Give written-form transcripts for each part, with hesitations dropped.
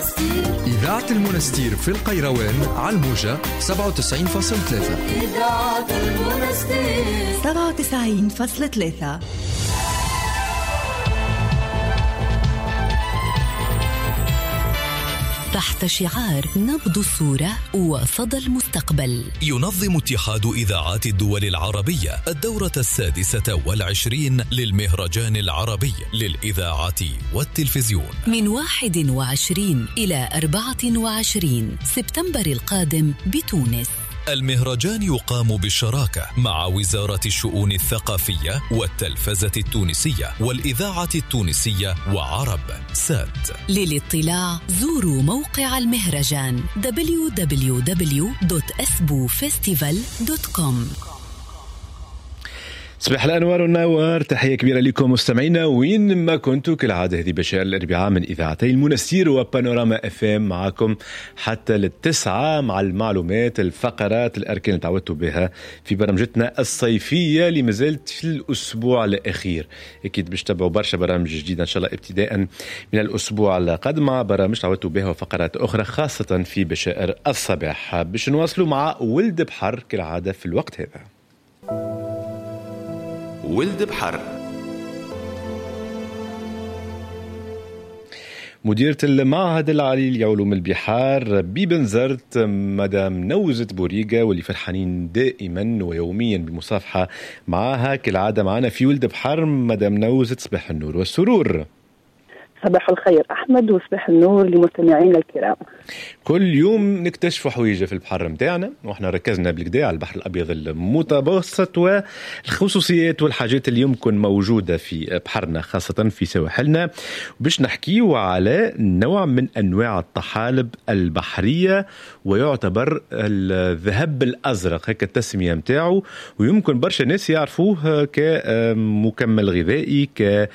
المنستير. إذاعة المنستير في القيروان على الموجة 97.3. إذاعة المنستير 97.3. تحت شعار نبض الصورة وصدى المستقبل، ينظم اتحاد إذاعات الدول العربية الدورة 26 للمهرجان العربي للإذاعة والتلفزيون من 21 إلى 24 سبتمبر القادم بتونس. المهرجان يقام بالشراكة مع وزارة الشؤون الثقافية والتلفزة التونسية والإذاعة التونسية وعرب سات. للاطلاع زوروا موقع المهرجان www.asbufestival.com. صباح الأنوار والنوار، تحية كبيرة لكم مستمعينا وين ما كنتوا. كالعادة هذه بشائر الأربعاء من إذاعتي المنستير وبانوراما اف ام، معكم حتى 9 مع المعلومات، الفقرات، الأركان اللي تعودتوا بها في برمجتنا الصيفية اللي مازالت في الأسبوع الأخير. أكيد باش تتابعوا برشا برامج جديدة إن شاء الله ابتداء من الأسبوع القادم مع برامج تعودتوا بها وفقرات أخرى خاصة في بشائر الصباح. باش نواصلوا مع ولد بحر كالعادة في الوقت هذا. ولد بحر، مديرة المعهد العالي لعلوم البحار ببنزرت مدام نوزة بوريقة، واللي فرحانين دائما ويوميا بالمصافحة معها كالعادة معنا في ولد بحر. مدام نوزة، صباح النور والسرور. صباح الخير أحمد، وصباح النور لمستمعينا الكرام. كل يوم نكتشفوا حويجة في البحر متاعنا، واحنا ركزنا بالكدا على البحر الأبيض المتوسط والخصوصيات والحاجات اللي يمكن موجودة في بحرنا خاصة في سواحلنا، باش نحكيو على نوع من أنواع الطحالب البحرية ويعتبر الذهب الأزرق، هيك التسمية متاعه، ويمكن برشا ناس يعرفوه كمكمل غذائي، ك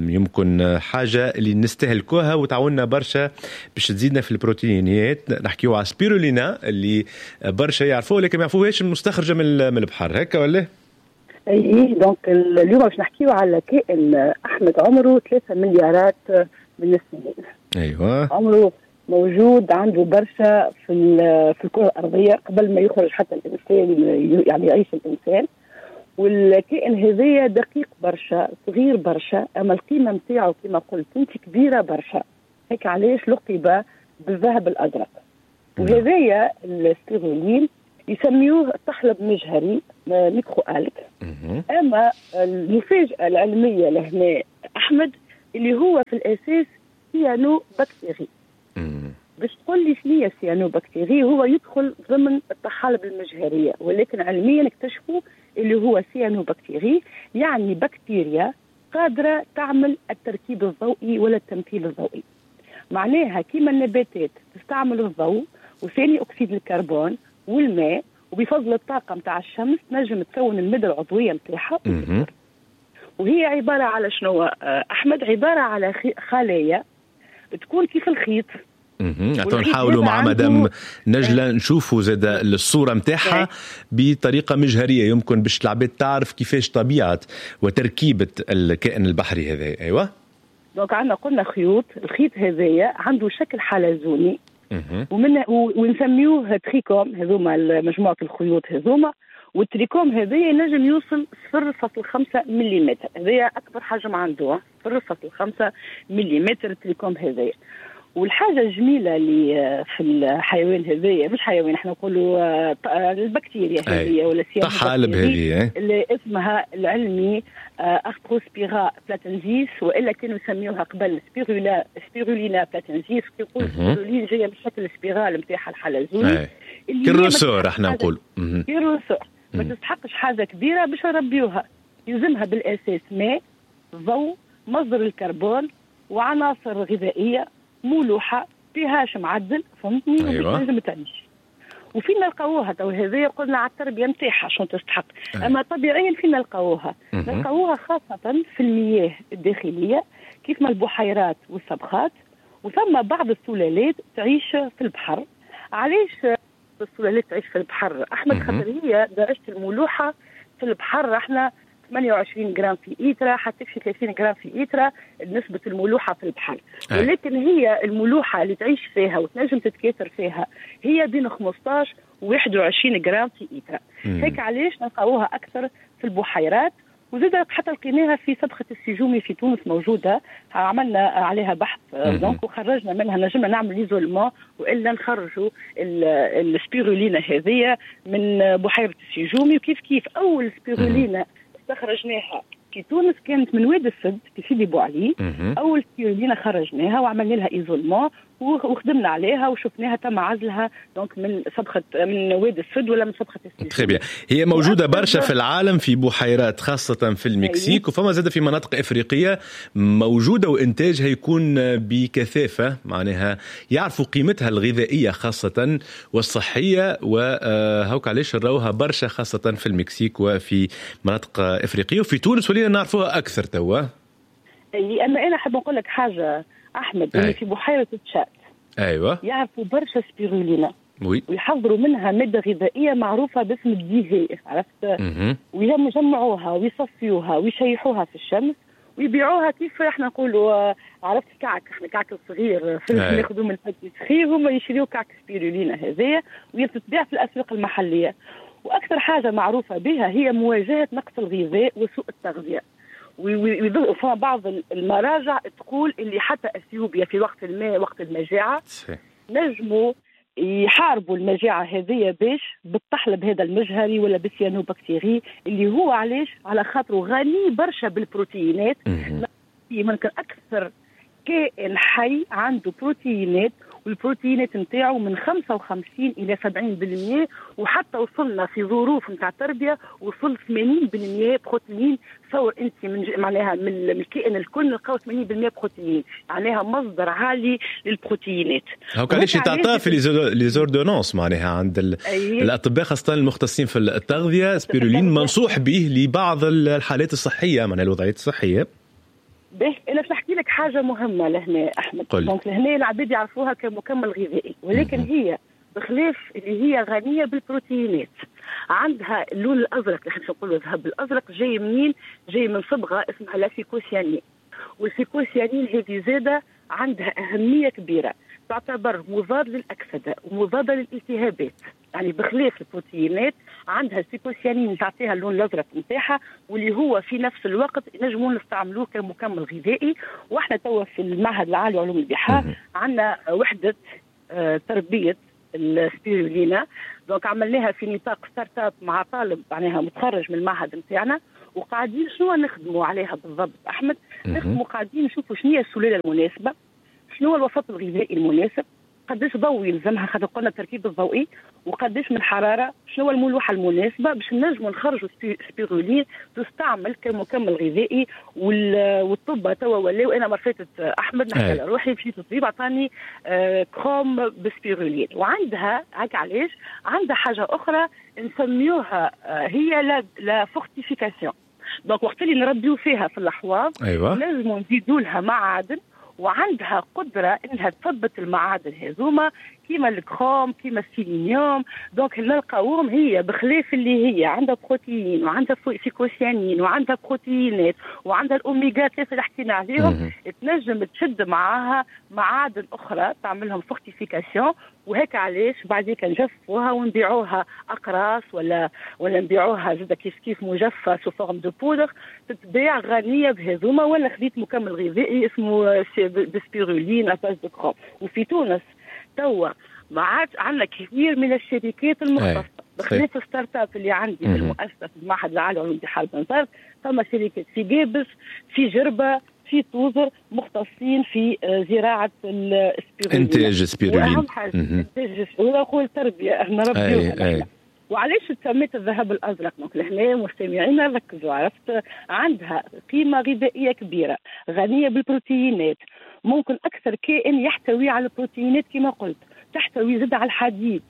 يمكن حاجة اللي نستهلكوها وتعاوننا برشا باش تزيدنا في البروتينات. نحكيو على سبيرولينا اللي برشا يعرفوه لكن ما يعرفوهاش مستخرجة من البحر، هكا ولا؟ اي donc اليوم باش نحكيو على كائن احمد عمره 3 مليارات من السنين. ايوه، عمره موجود عنده برشا في الكرة الأرضية قبل ما يخرج حتى الإنسان، يعني يعيش الإنسان. والكائن هذايا دقيق برشا، صغير برشا، اما القيمة نتاعو كما قلت انت كبيرة برشا، هيك علاش لقب بالذهب الازرق. وهذايا السبيرولين يسميوه طحلب مجهري، microalgue. اما المفاجاة العلمية لهنا احمد اللي هو في الاساس cyanobactérie. باش تقول لي شنو هي cyanobactérie؟ هو يدخل ضمن الطحالب المجهريه، ولكن علميا اكتشفوا اللي هو cyanobactérie، يعني بكتيريا قادرة تعمل التركيب الضوئي ولا التمثيل الضوئي. معناها كيما النباتات تستعمل الضوء وثاني أكسيد الكربون والماء، وبفضل الطاقة متاع الشمس تنجم تكون المادة العضوية متاعها. وهي عبارة على شنو أحمد؟ عبارة على خلايا تكون كيف الخيط. نحاولوا مع مدام نجلة نشوفوا زاد الصورة متاعها بطريقة مجهرية، يمكن باش العباد تعرف كيفاش طبيعة وتركيبة الكائن البحري هذا. أيوة، donc عندنا قلنا خيوط، الخيط هذايا عنده شكل حلزوني ومن ونسميوه trichome، هذوما مجموعة الخيوط هذوما. وال trichome هذايا نجم يوصل 0.5 ملم، هذايا أكبر حجم عنده 0.5 ملم ال trichome هذايا. والحاجة الجميلة اللي في الحيوان هذايا، مش حيوان احنا نقولوا البكتيريا هذه ولا الطحالب هذه اللي اسمها العلمي Arthrospira platensis، والا كانوا يسميوها قبل Spirulina platensis. كي يقولوا سبيرولين جاية من شكل spirale نتاعها الحلزوني، كال ressort احنا نقولوا كال ressort. ما تستحقش حاجة كبيرة باش نربيوها، يلزمها بالاساس ماء، ضوء، مصدر الكربون، وعناصر غذائية، ملوحه، pH معدل، فهمتني؟ أيوة. لازم تعيش. وفين نلقاوها تو هذايا؟ قلنا على التربية نتاعها شنو تستحق. اما طبيعيا فين نلقاوها؟ نلقاوها خاصة في المياه الداخلية كيف ما البحيرات والصبخات، وثم بعض السلالات تعيش في البحر. علاش السلالات تعيش في البحر احمد؟ خاطر هي درجه الملوحه في البحر احنا 28 جرام في إيترا حتى في 30 جرام في إيترا نسبة الملوحة في البحر. ولكن هي الملوحة اللي تعيش فيها وتنجم تتكاثر فيها هي بين 15 و 21 جرام في إيترا. هيك علاش نلقاوها أكثر في البحيرات، وزاد حتى لقيناها في سبخة السجومي في تونس موجودة، عملنا عليها بحث donc وخرجنا منها، نجمنا نعمل l'isolement والا نخرجوا السبيرولينا هذه من بحيرة السجومي. وكيف كيف أول سبيرولينا استخرجناها في تونس كانت من واد السد في سيدي بوعلي. أول سبيرولينا خرجناها وعملنا لها isolement وخدمنا عليها وشفناها تم عزلها donc من سبخة من واد السد ولا من سبخة السجومي. très bien. هي موجودة برشا في العالم في بحيرات خاصة في المكسيك، وفما زادة في مناطق إفريقية موجودة وإنتاجها يكون بكثافة، معناها يعرفوا قيمتها الغذائية خاصة والصحية، وهوك علاش نراوها برشا خاصة في المكسيك وفي مناطق إفريقية، وفي تونس ولينا نعرفوها أكثر توا. أما أنا أحب نقول لك حاجة أحمد، اللي في بحيرة تشاد أيوة يعرفوا برشا سبيرولينا oui. ويحضروا منها مادة غذائية معروفة باسم الديهي، عرفت؟ ويجمعوها ويصفيوها ويشيحوها في الشمس ويبيعوها كيف احنا نقولوا، عرفت كعك، احنا كعك الصغير ناخذوا من ال pâtisserie، هما يشريوا كعك سبيرولينا هذايا ويتباع في الأسواق المحلية. وأكثر حاجة معروفة بها هي مواجهة نقص الغذاء وسوء التغذية. وفما بعض المراجع تقول اللي حتى اثيوبيا في وقت الماء وقت المجاعة نجموا يحاربوا المجاعة هذه باش بالطحلب هذا المجهري ولا بالسيانوبكتيري اللي هو علاش على خاطره غني برشا بالبروتينات. ممكن اكثر كائن حي عنده بروتينات، والبروتينات نتاعو من 55 الى 70%، وحتى وصلنا في ظروف نتاع التربية وصل 80% بروتين. تصور انت من معناها من الكائن الكل نلقاو 80% بروتين، معناها مصدر عالي للبروتينات. هاك علاش يتعطى في les ordonnances معناها عند الاطباء خاصة المختصين في التغذية، سبيرولين منصوح به لبعض الحالات الصحية معناها الوضعيات الصحية. به انا باش نحكي لك حاجة مهمة لهنا احمد. donc لهنا العباد يعرفوها كمكمل غذائي، ولكن هي بخلاف اللي هي غنية بالبروتينات عندها اللون الازرق اللي احنا نقولوا الذهب الازرق، جاي منين؟ جاي من صبغة اسمها la phycocyanine. وال phycocyanine هذه زاده عندها اهمية كبيرة، تعتبر مضاد للاكسده ومضاده للالتهابات. يعني بخلاف البروتينات عندها ال phycocyanine تعطيها اللون الازرق نتاعها، واللي هو في نفس الوقت نجموا نستعملوه كمكمل غذائي. واحنا توا في المعهد العالي لعلوم البحار عندنا وحده تربيه السبيرولينا، donc عملناها في نطاق start-up مع طالب معناها متخرج من المعهد نتاعنا، وقاعدين شنو نخدموا عليها بالضبط احمد؟ نخدموا قاعدين نشوفوا شنو هي السلالة المناسبة، شنو هو الوسط الغذائي المناسب، قداش ضوء يلزمها خاطر قلنا التركيب الضوئي، وقداش من حرارة، شنو الملوحه المناسبة باش نجموا نخرجوا سبيرولين تستعمل كمكمل غذائي. والطب توا ولاو، انا مرة فاتت احمد نحكي على روحي مشيت للطبيب عطاني كروم بسبيرولين. وعندها هاك علاش عندها حاجة اخرى نسميوها هي la fortification. donc وقت اللي نربيو فيها في الاحواض لازم نزيدوا لها معادن، وعندها قدرة إنها تثبت المعادن هذوما كيما ال chrome كيما السيلينيوم. donc نلقاوهم هي بخلاف اللي هي عندها بروتين وعندها phycocyanine وعندها بروتينات وعندها الأوميغا 3 اللي حكينا عليهم، تنجم تشد معاها معادن أخرى تعملهم fortification. وهيك علاش بعديك نجفوها ونبيعوها أقراص ولا نبيعوها زاده كيف كيف مجففة sous forme de poudre، تتباع غنية بهذوما. ولا خذيت مكمل غذائي اسمه ب spiruline à base de chrome. وفي تونس توا ما عادش عندنا كثير من الشركات المختصة بخلاف ال start-up اللي عندي في المؤسسة في المعهد العالي لعلوم البحار بنزرت، فما شركات في قابس في جربه في توزر مختصين في زراعة السبيرولين، انتاج السبيرولين، واهم حاجة انتاج نقول تربيه نربيوها. وعلاش تسميت الذهب الازرق؟ donc لهنا مستمعينا ركزوا، عرفت عندها قيمة غذائية كبيرة، غنية بالبروتينات، ممكن اكثر كائن يحتوي على البروتينات كما قلت، تحتوي زاد على الحديد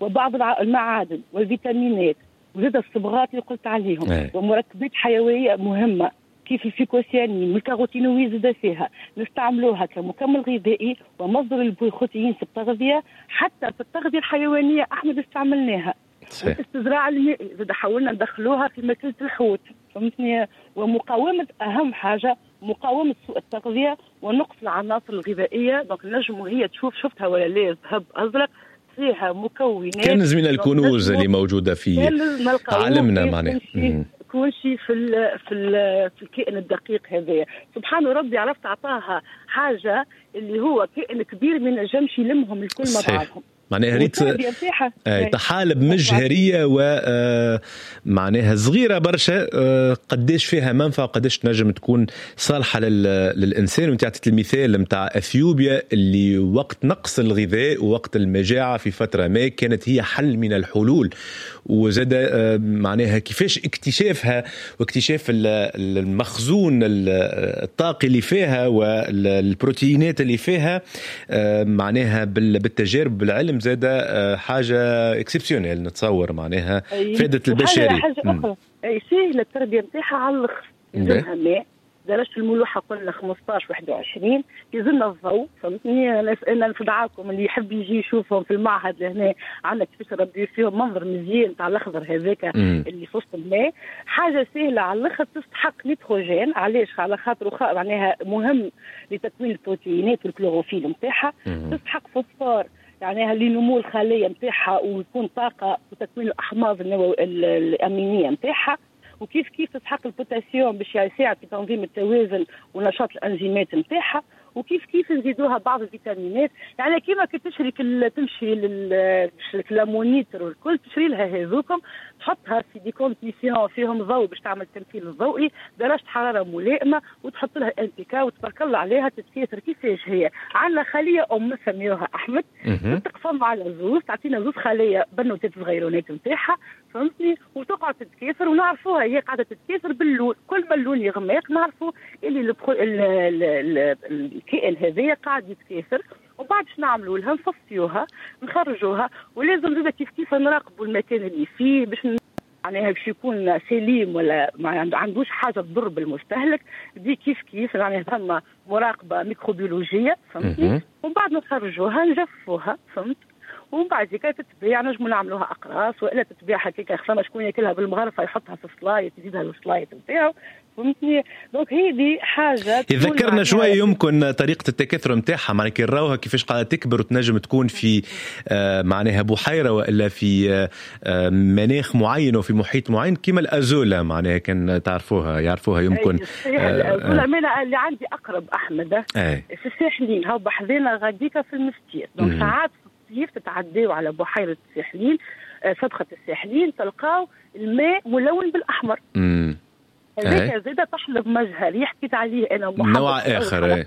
وبعض المعادن والفيتامينات وزاد الصبغات اللي قلت عليهم ومركبات حيوية مهمة كيف ال phycocyanine وال caroténoïdes زاد فيها. نستعملوها كمكمل غذائي ومصدر البروتين في التغذية، حتى في التغذية الحيوانية احمد استعملناها. والاستزراع المائي زاد حاولنا ندخلوها في ماكلة الحوت. فهمتني؟ ومقاومة، اهم حاجة مقاومة سوء التغذية ونقص العناصر الغذائية. donc نجموا هي تشوف، شفتها ولا لا، ذهب ازرق فيها مكونات، كنز من الكنوز اللي موجودة في عالمنا معناها كل شيء في الكائن الدقيق هذايا. سبحان ربي، عرفت، عطاها حاجة اللي هو كائن كبير ما نجمش يلمهم الكل مع بعضهم. معناها ريت طحالب مجهريه ومعناها صغيرة برشا، قداش فيها منفعه وقداش تنجم تكون صالحه للانسان. وانت عطيت المثال نتاع اثيوبيا اللي وقت نقص الغذاء ووقت المجاعة في فترة ما كانت هي حل من الحلول، وزاد معناها كيفاش اكتشافها واكتشاف المخزون الطاقي اللي فيها والبروتينات اللي فيها معناها بالتجارب بالعلم زاد حاجة exceptionnelle نتصور، معناها فادت البشرية. حاجة اخرى، اي سهلة التربية نتاعها على الاخر، يلزمها ماء، درجة الملوحة قلنا 15 21، يلزمنا الضوء، فهمتني؟ انا نفدعاكم اللي يحب يجي يشوفهم في المعهد لهنا، عندنا كيفاش نربي فيهم، منظر مزيان تاع الاخضر هذاك اللي في وسط الماء. حاجة سهلة على الاخر، تستحق نيتروجين، علاش؟ على خاطر معناها مهم لتكوين البروتينات والكلوروفيل نتاعها. تستحق فوسفور يعني لنمو الخلية نتاعها ويكون طاقة وتكوين الاحماض الامينية نتاعها. وكيف كيف تستحق البوتاسيوم باش يساعد في تنظيم التوازن ونشاط الانزيمات نتاعها. وكيف كيف نزيدوها بعض الفيتامينات، يعني كيما كي تشري تمشي لل moniteur والكل تشري لها هذوكم، تحطها في des conditions فيهم ضوء باش تعمل التمثيل الضوئي، درجه حرارة ملائمه، وتحط لها NPK وتبارك الله عليها تتكاثر. كيفاش هي؟ عندنا خليه ام نسميوها احمد، تقسم على زوز، تعطينا زوز خليه بنوتات صغيرونات نتاعها، فهمتني؟ وتقعد تتكاثر ونعرفوها هي قاعدة تتكاثر باللون، كل ما اللون يغمق نعرفوا اللي الكائن هذايا قاعد يتكاثر. وبعد باش نعملوا لها؟ نصفيوها، نخرجوها، ولازم زاده كيف كيف نراقبوا المكان اللي فيه باش معناها باش يكون سليم ولا ما عندوش حاجة تضر بالمستهلك. دي كيف كيف يعني ثم مراقبة ميكروبيولوجيه، فهمتني؟ ومن بعد نخرجوها نجفوها، فهمت؟ ومن بعد كي تتبيع نجموا نعملوها اقراص والا تتبيع هكاك، فما شكون ياكلها بالمغرفه يحطها في السلايط، يزيدها السلايط نتاعو، فهمتني؟ donc هذه حاجة يذكرنا شوية يمكن طريقه التكاثر نتاعها، معناها كي نراوها كيفاش قاعدة تكبر وتنجم تكون في معناها بحيرة والا في مناخ معين وفي محيط معين كيما ال azolla، معناها كان تعرفوها يعرفوها يمكن. ال azolla اللي عندي اقرب احمد في الساحلين، هاو بحذانا غاديكا في المستير. donc ساعات كيف تتعداو على بحيرة الساحلين، سبخة الساحلين، تلقاو الماء ملون بالاحمر. هذاك زاد طحلب مجهري حكيت عليه انا نوع اخر،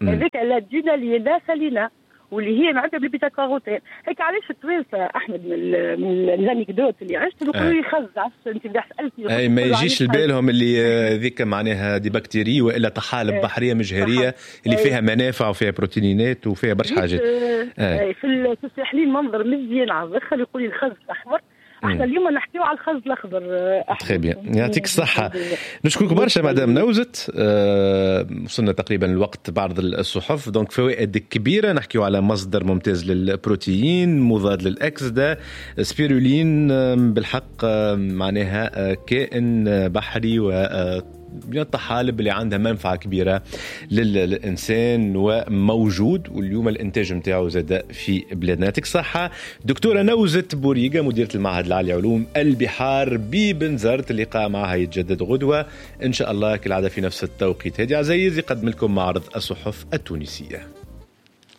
هذاك la Dunaliella salina واللي هي معناتها بال bêta-carotène. هيك علاش التوانسة احمد من ال anecdotes اللي عشت يقولوا يخزع، انت اللي سالتني اي ما يجيش لبالهم اللي ذيك معناها des bactéries والا طحالب بحرية مجهريه اللي فيها منافع وفيها بروتينات وفيها برشا حاجات. في الساحلين منظر مزيان على الاخر، يقول لي الخز الاحمر. احنا اليوم نحكيو على الخز الاخضر. très bien، يعطيك الصحة، نشكرك برشا مدام نوزت. وصلنا تقريبا الوقت بعرض الصحف، donc فوائد كبيرة، نحكيو على مصدر ممتاز للبروتين، مضاد للاكسده، سبيرولين، بالحق معناها كائن بحري و من الطحالب اللي عندها منفعة كبيرة للإنسان وموجود، واليوم الإنتاج متاعه زاد في بلادنا. يعطيك الصحة دكتورة نوزت بوريقة، مديرة المعهد العالي لعلوم البحار ببنزرت. اللقاء معها يتجدد غدوة إن شاء الله كالعادة في نفس التوقيت. هادي عزيز يقدم لكم معرض الصحف التونسية.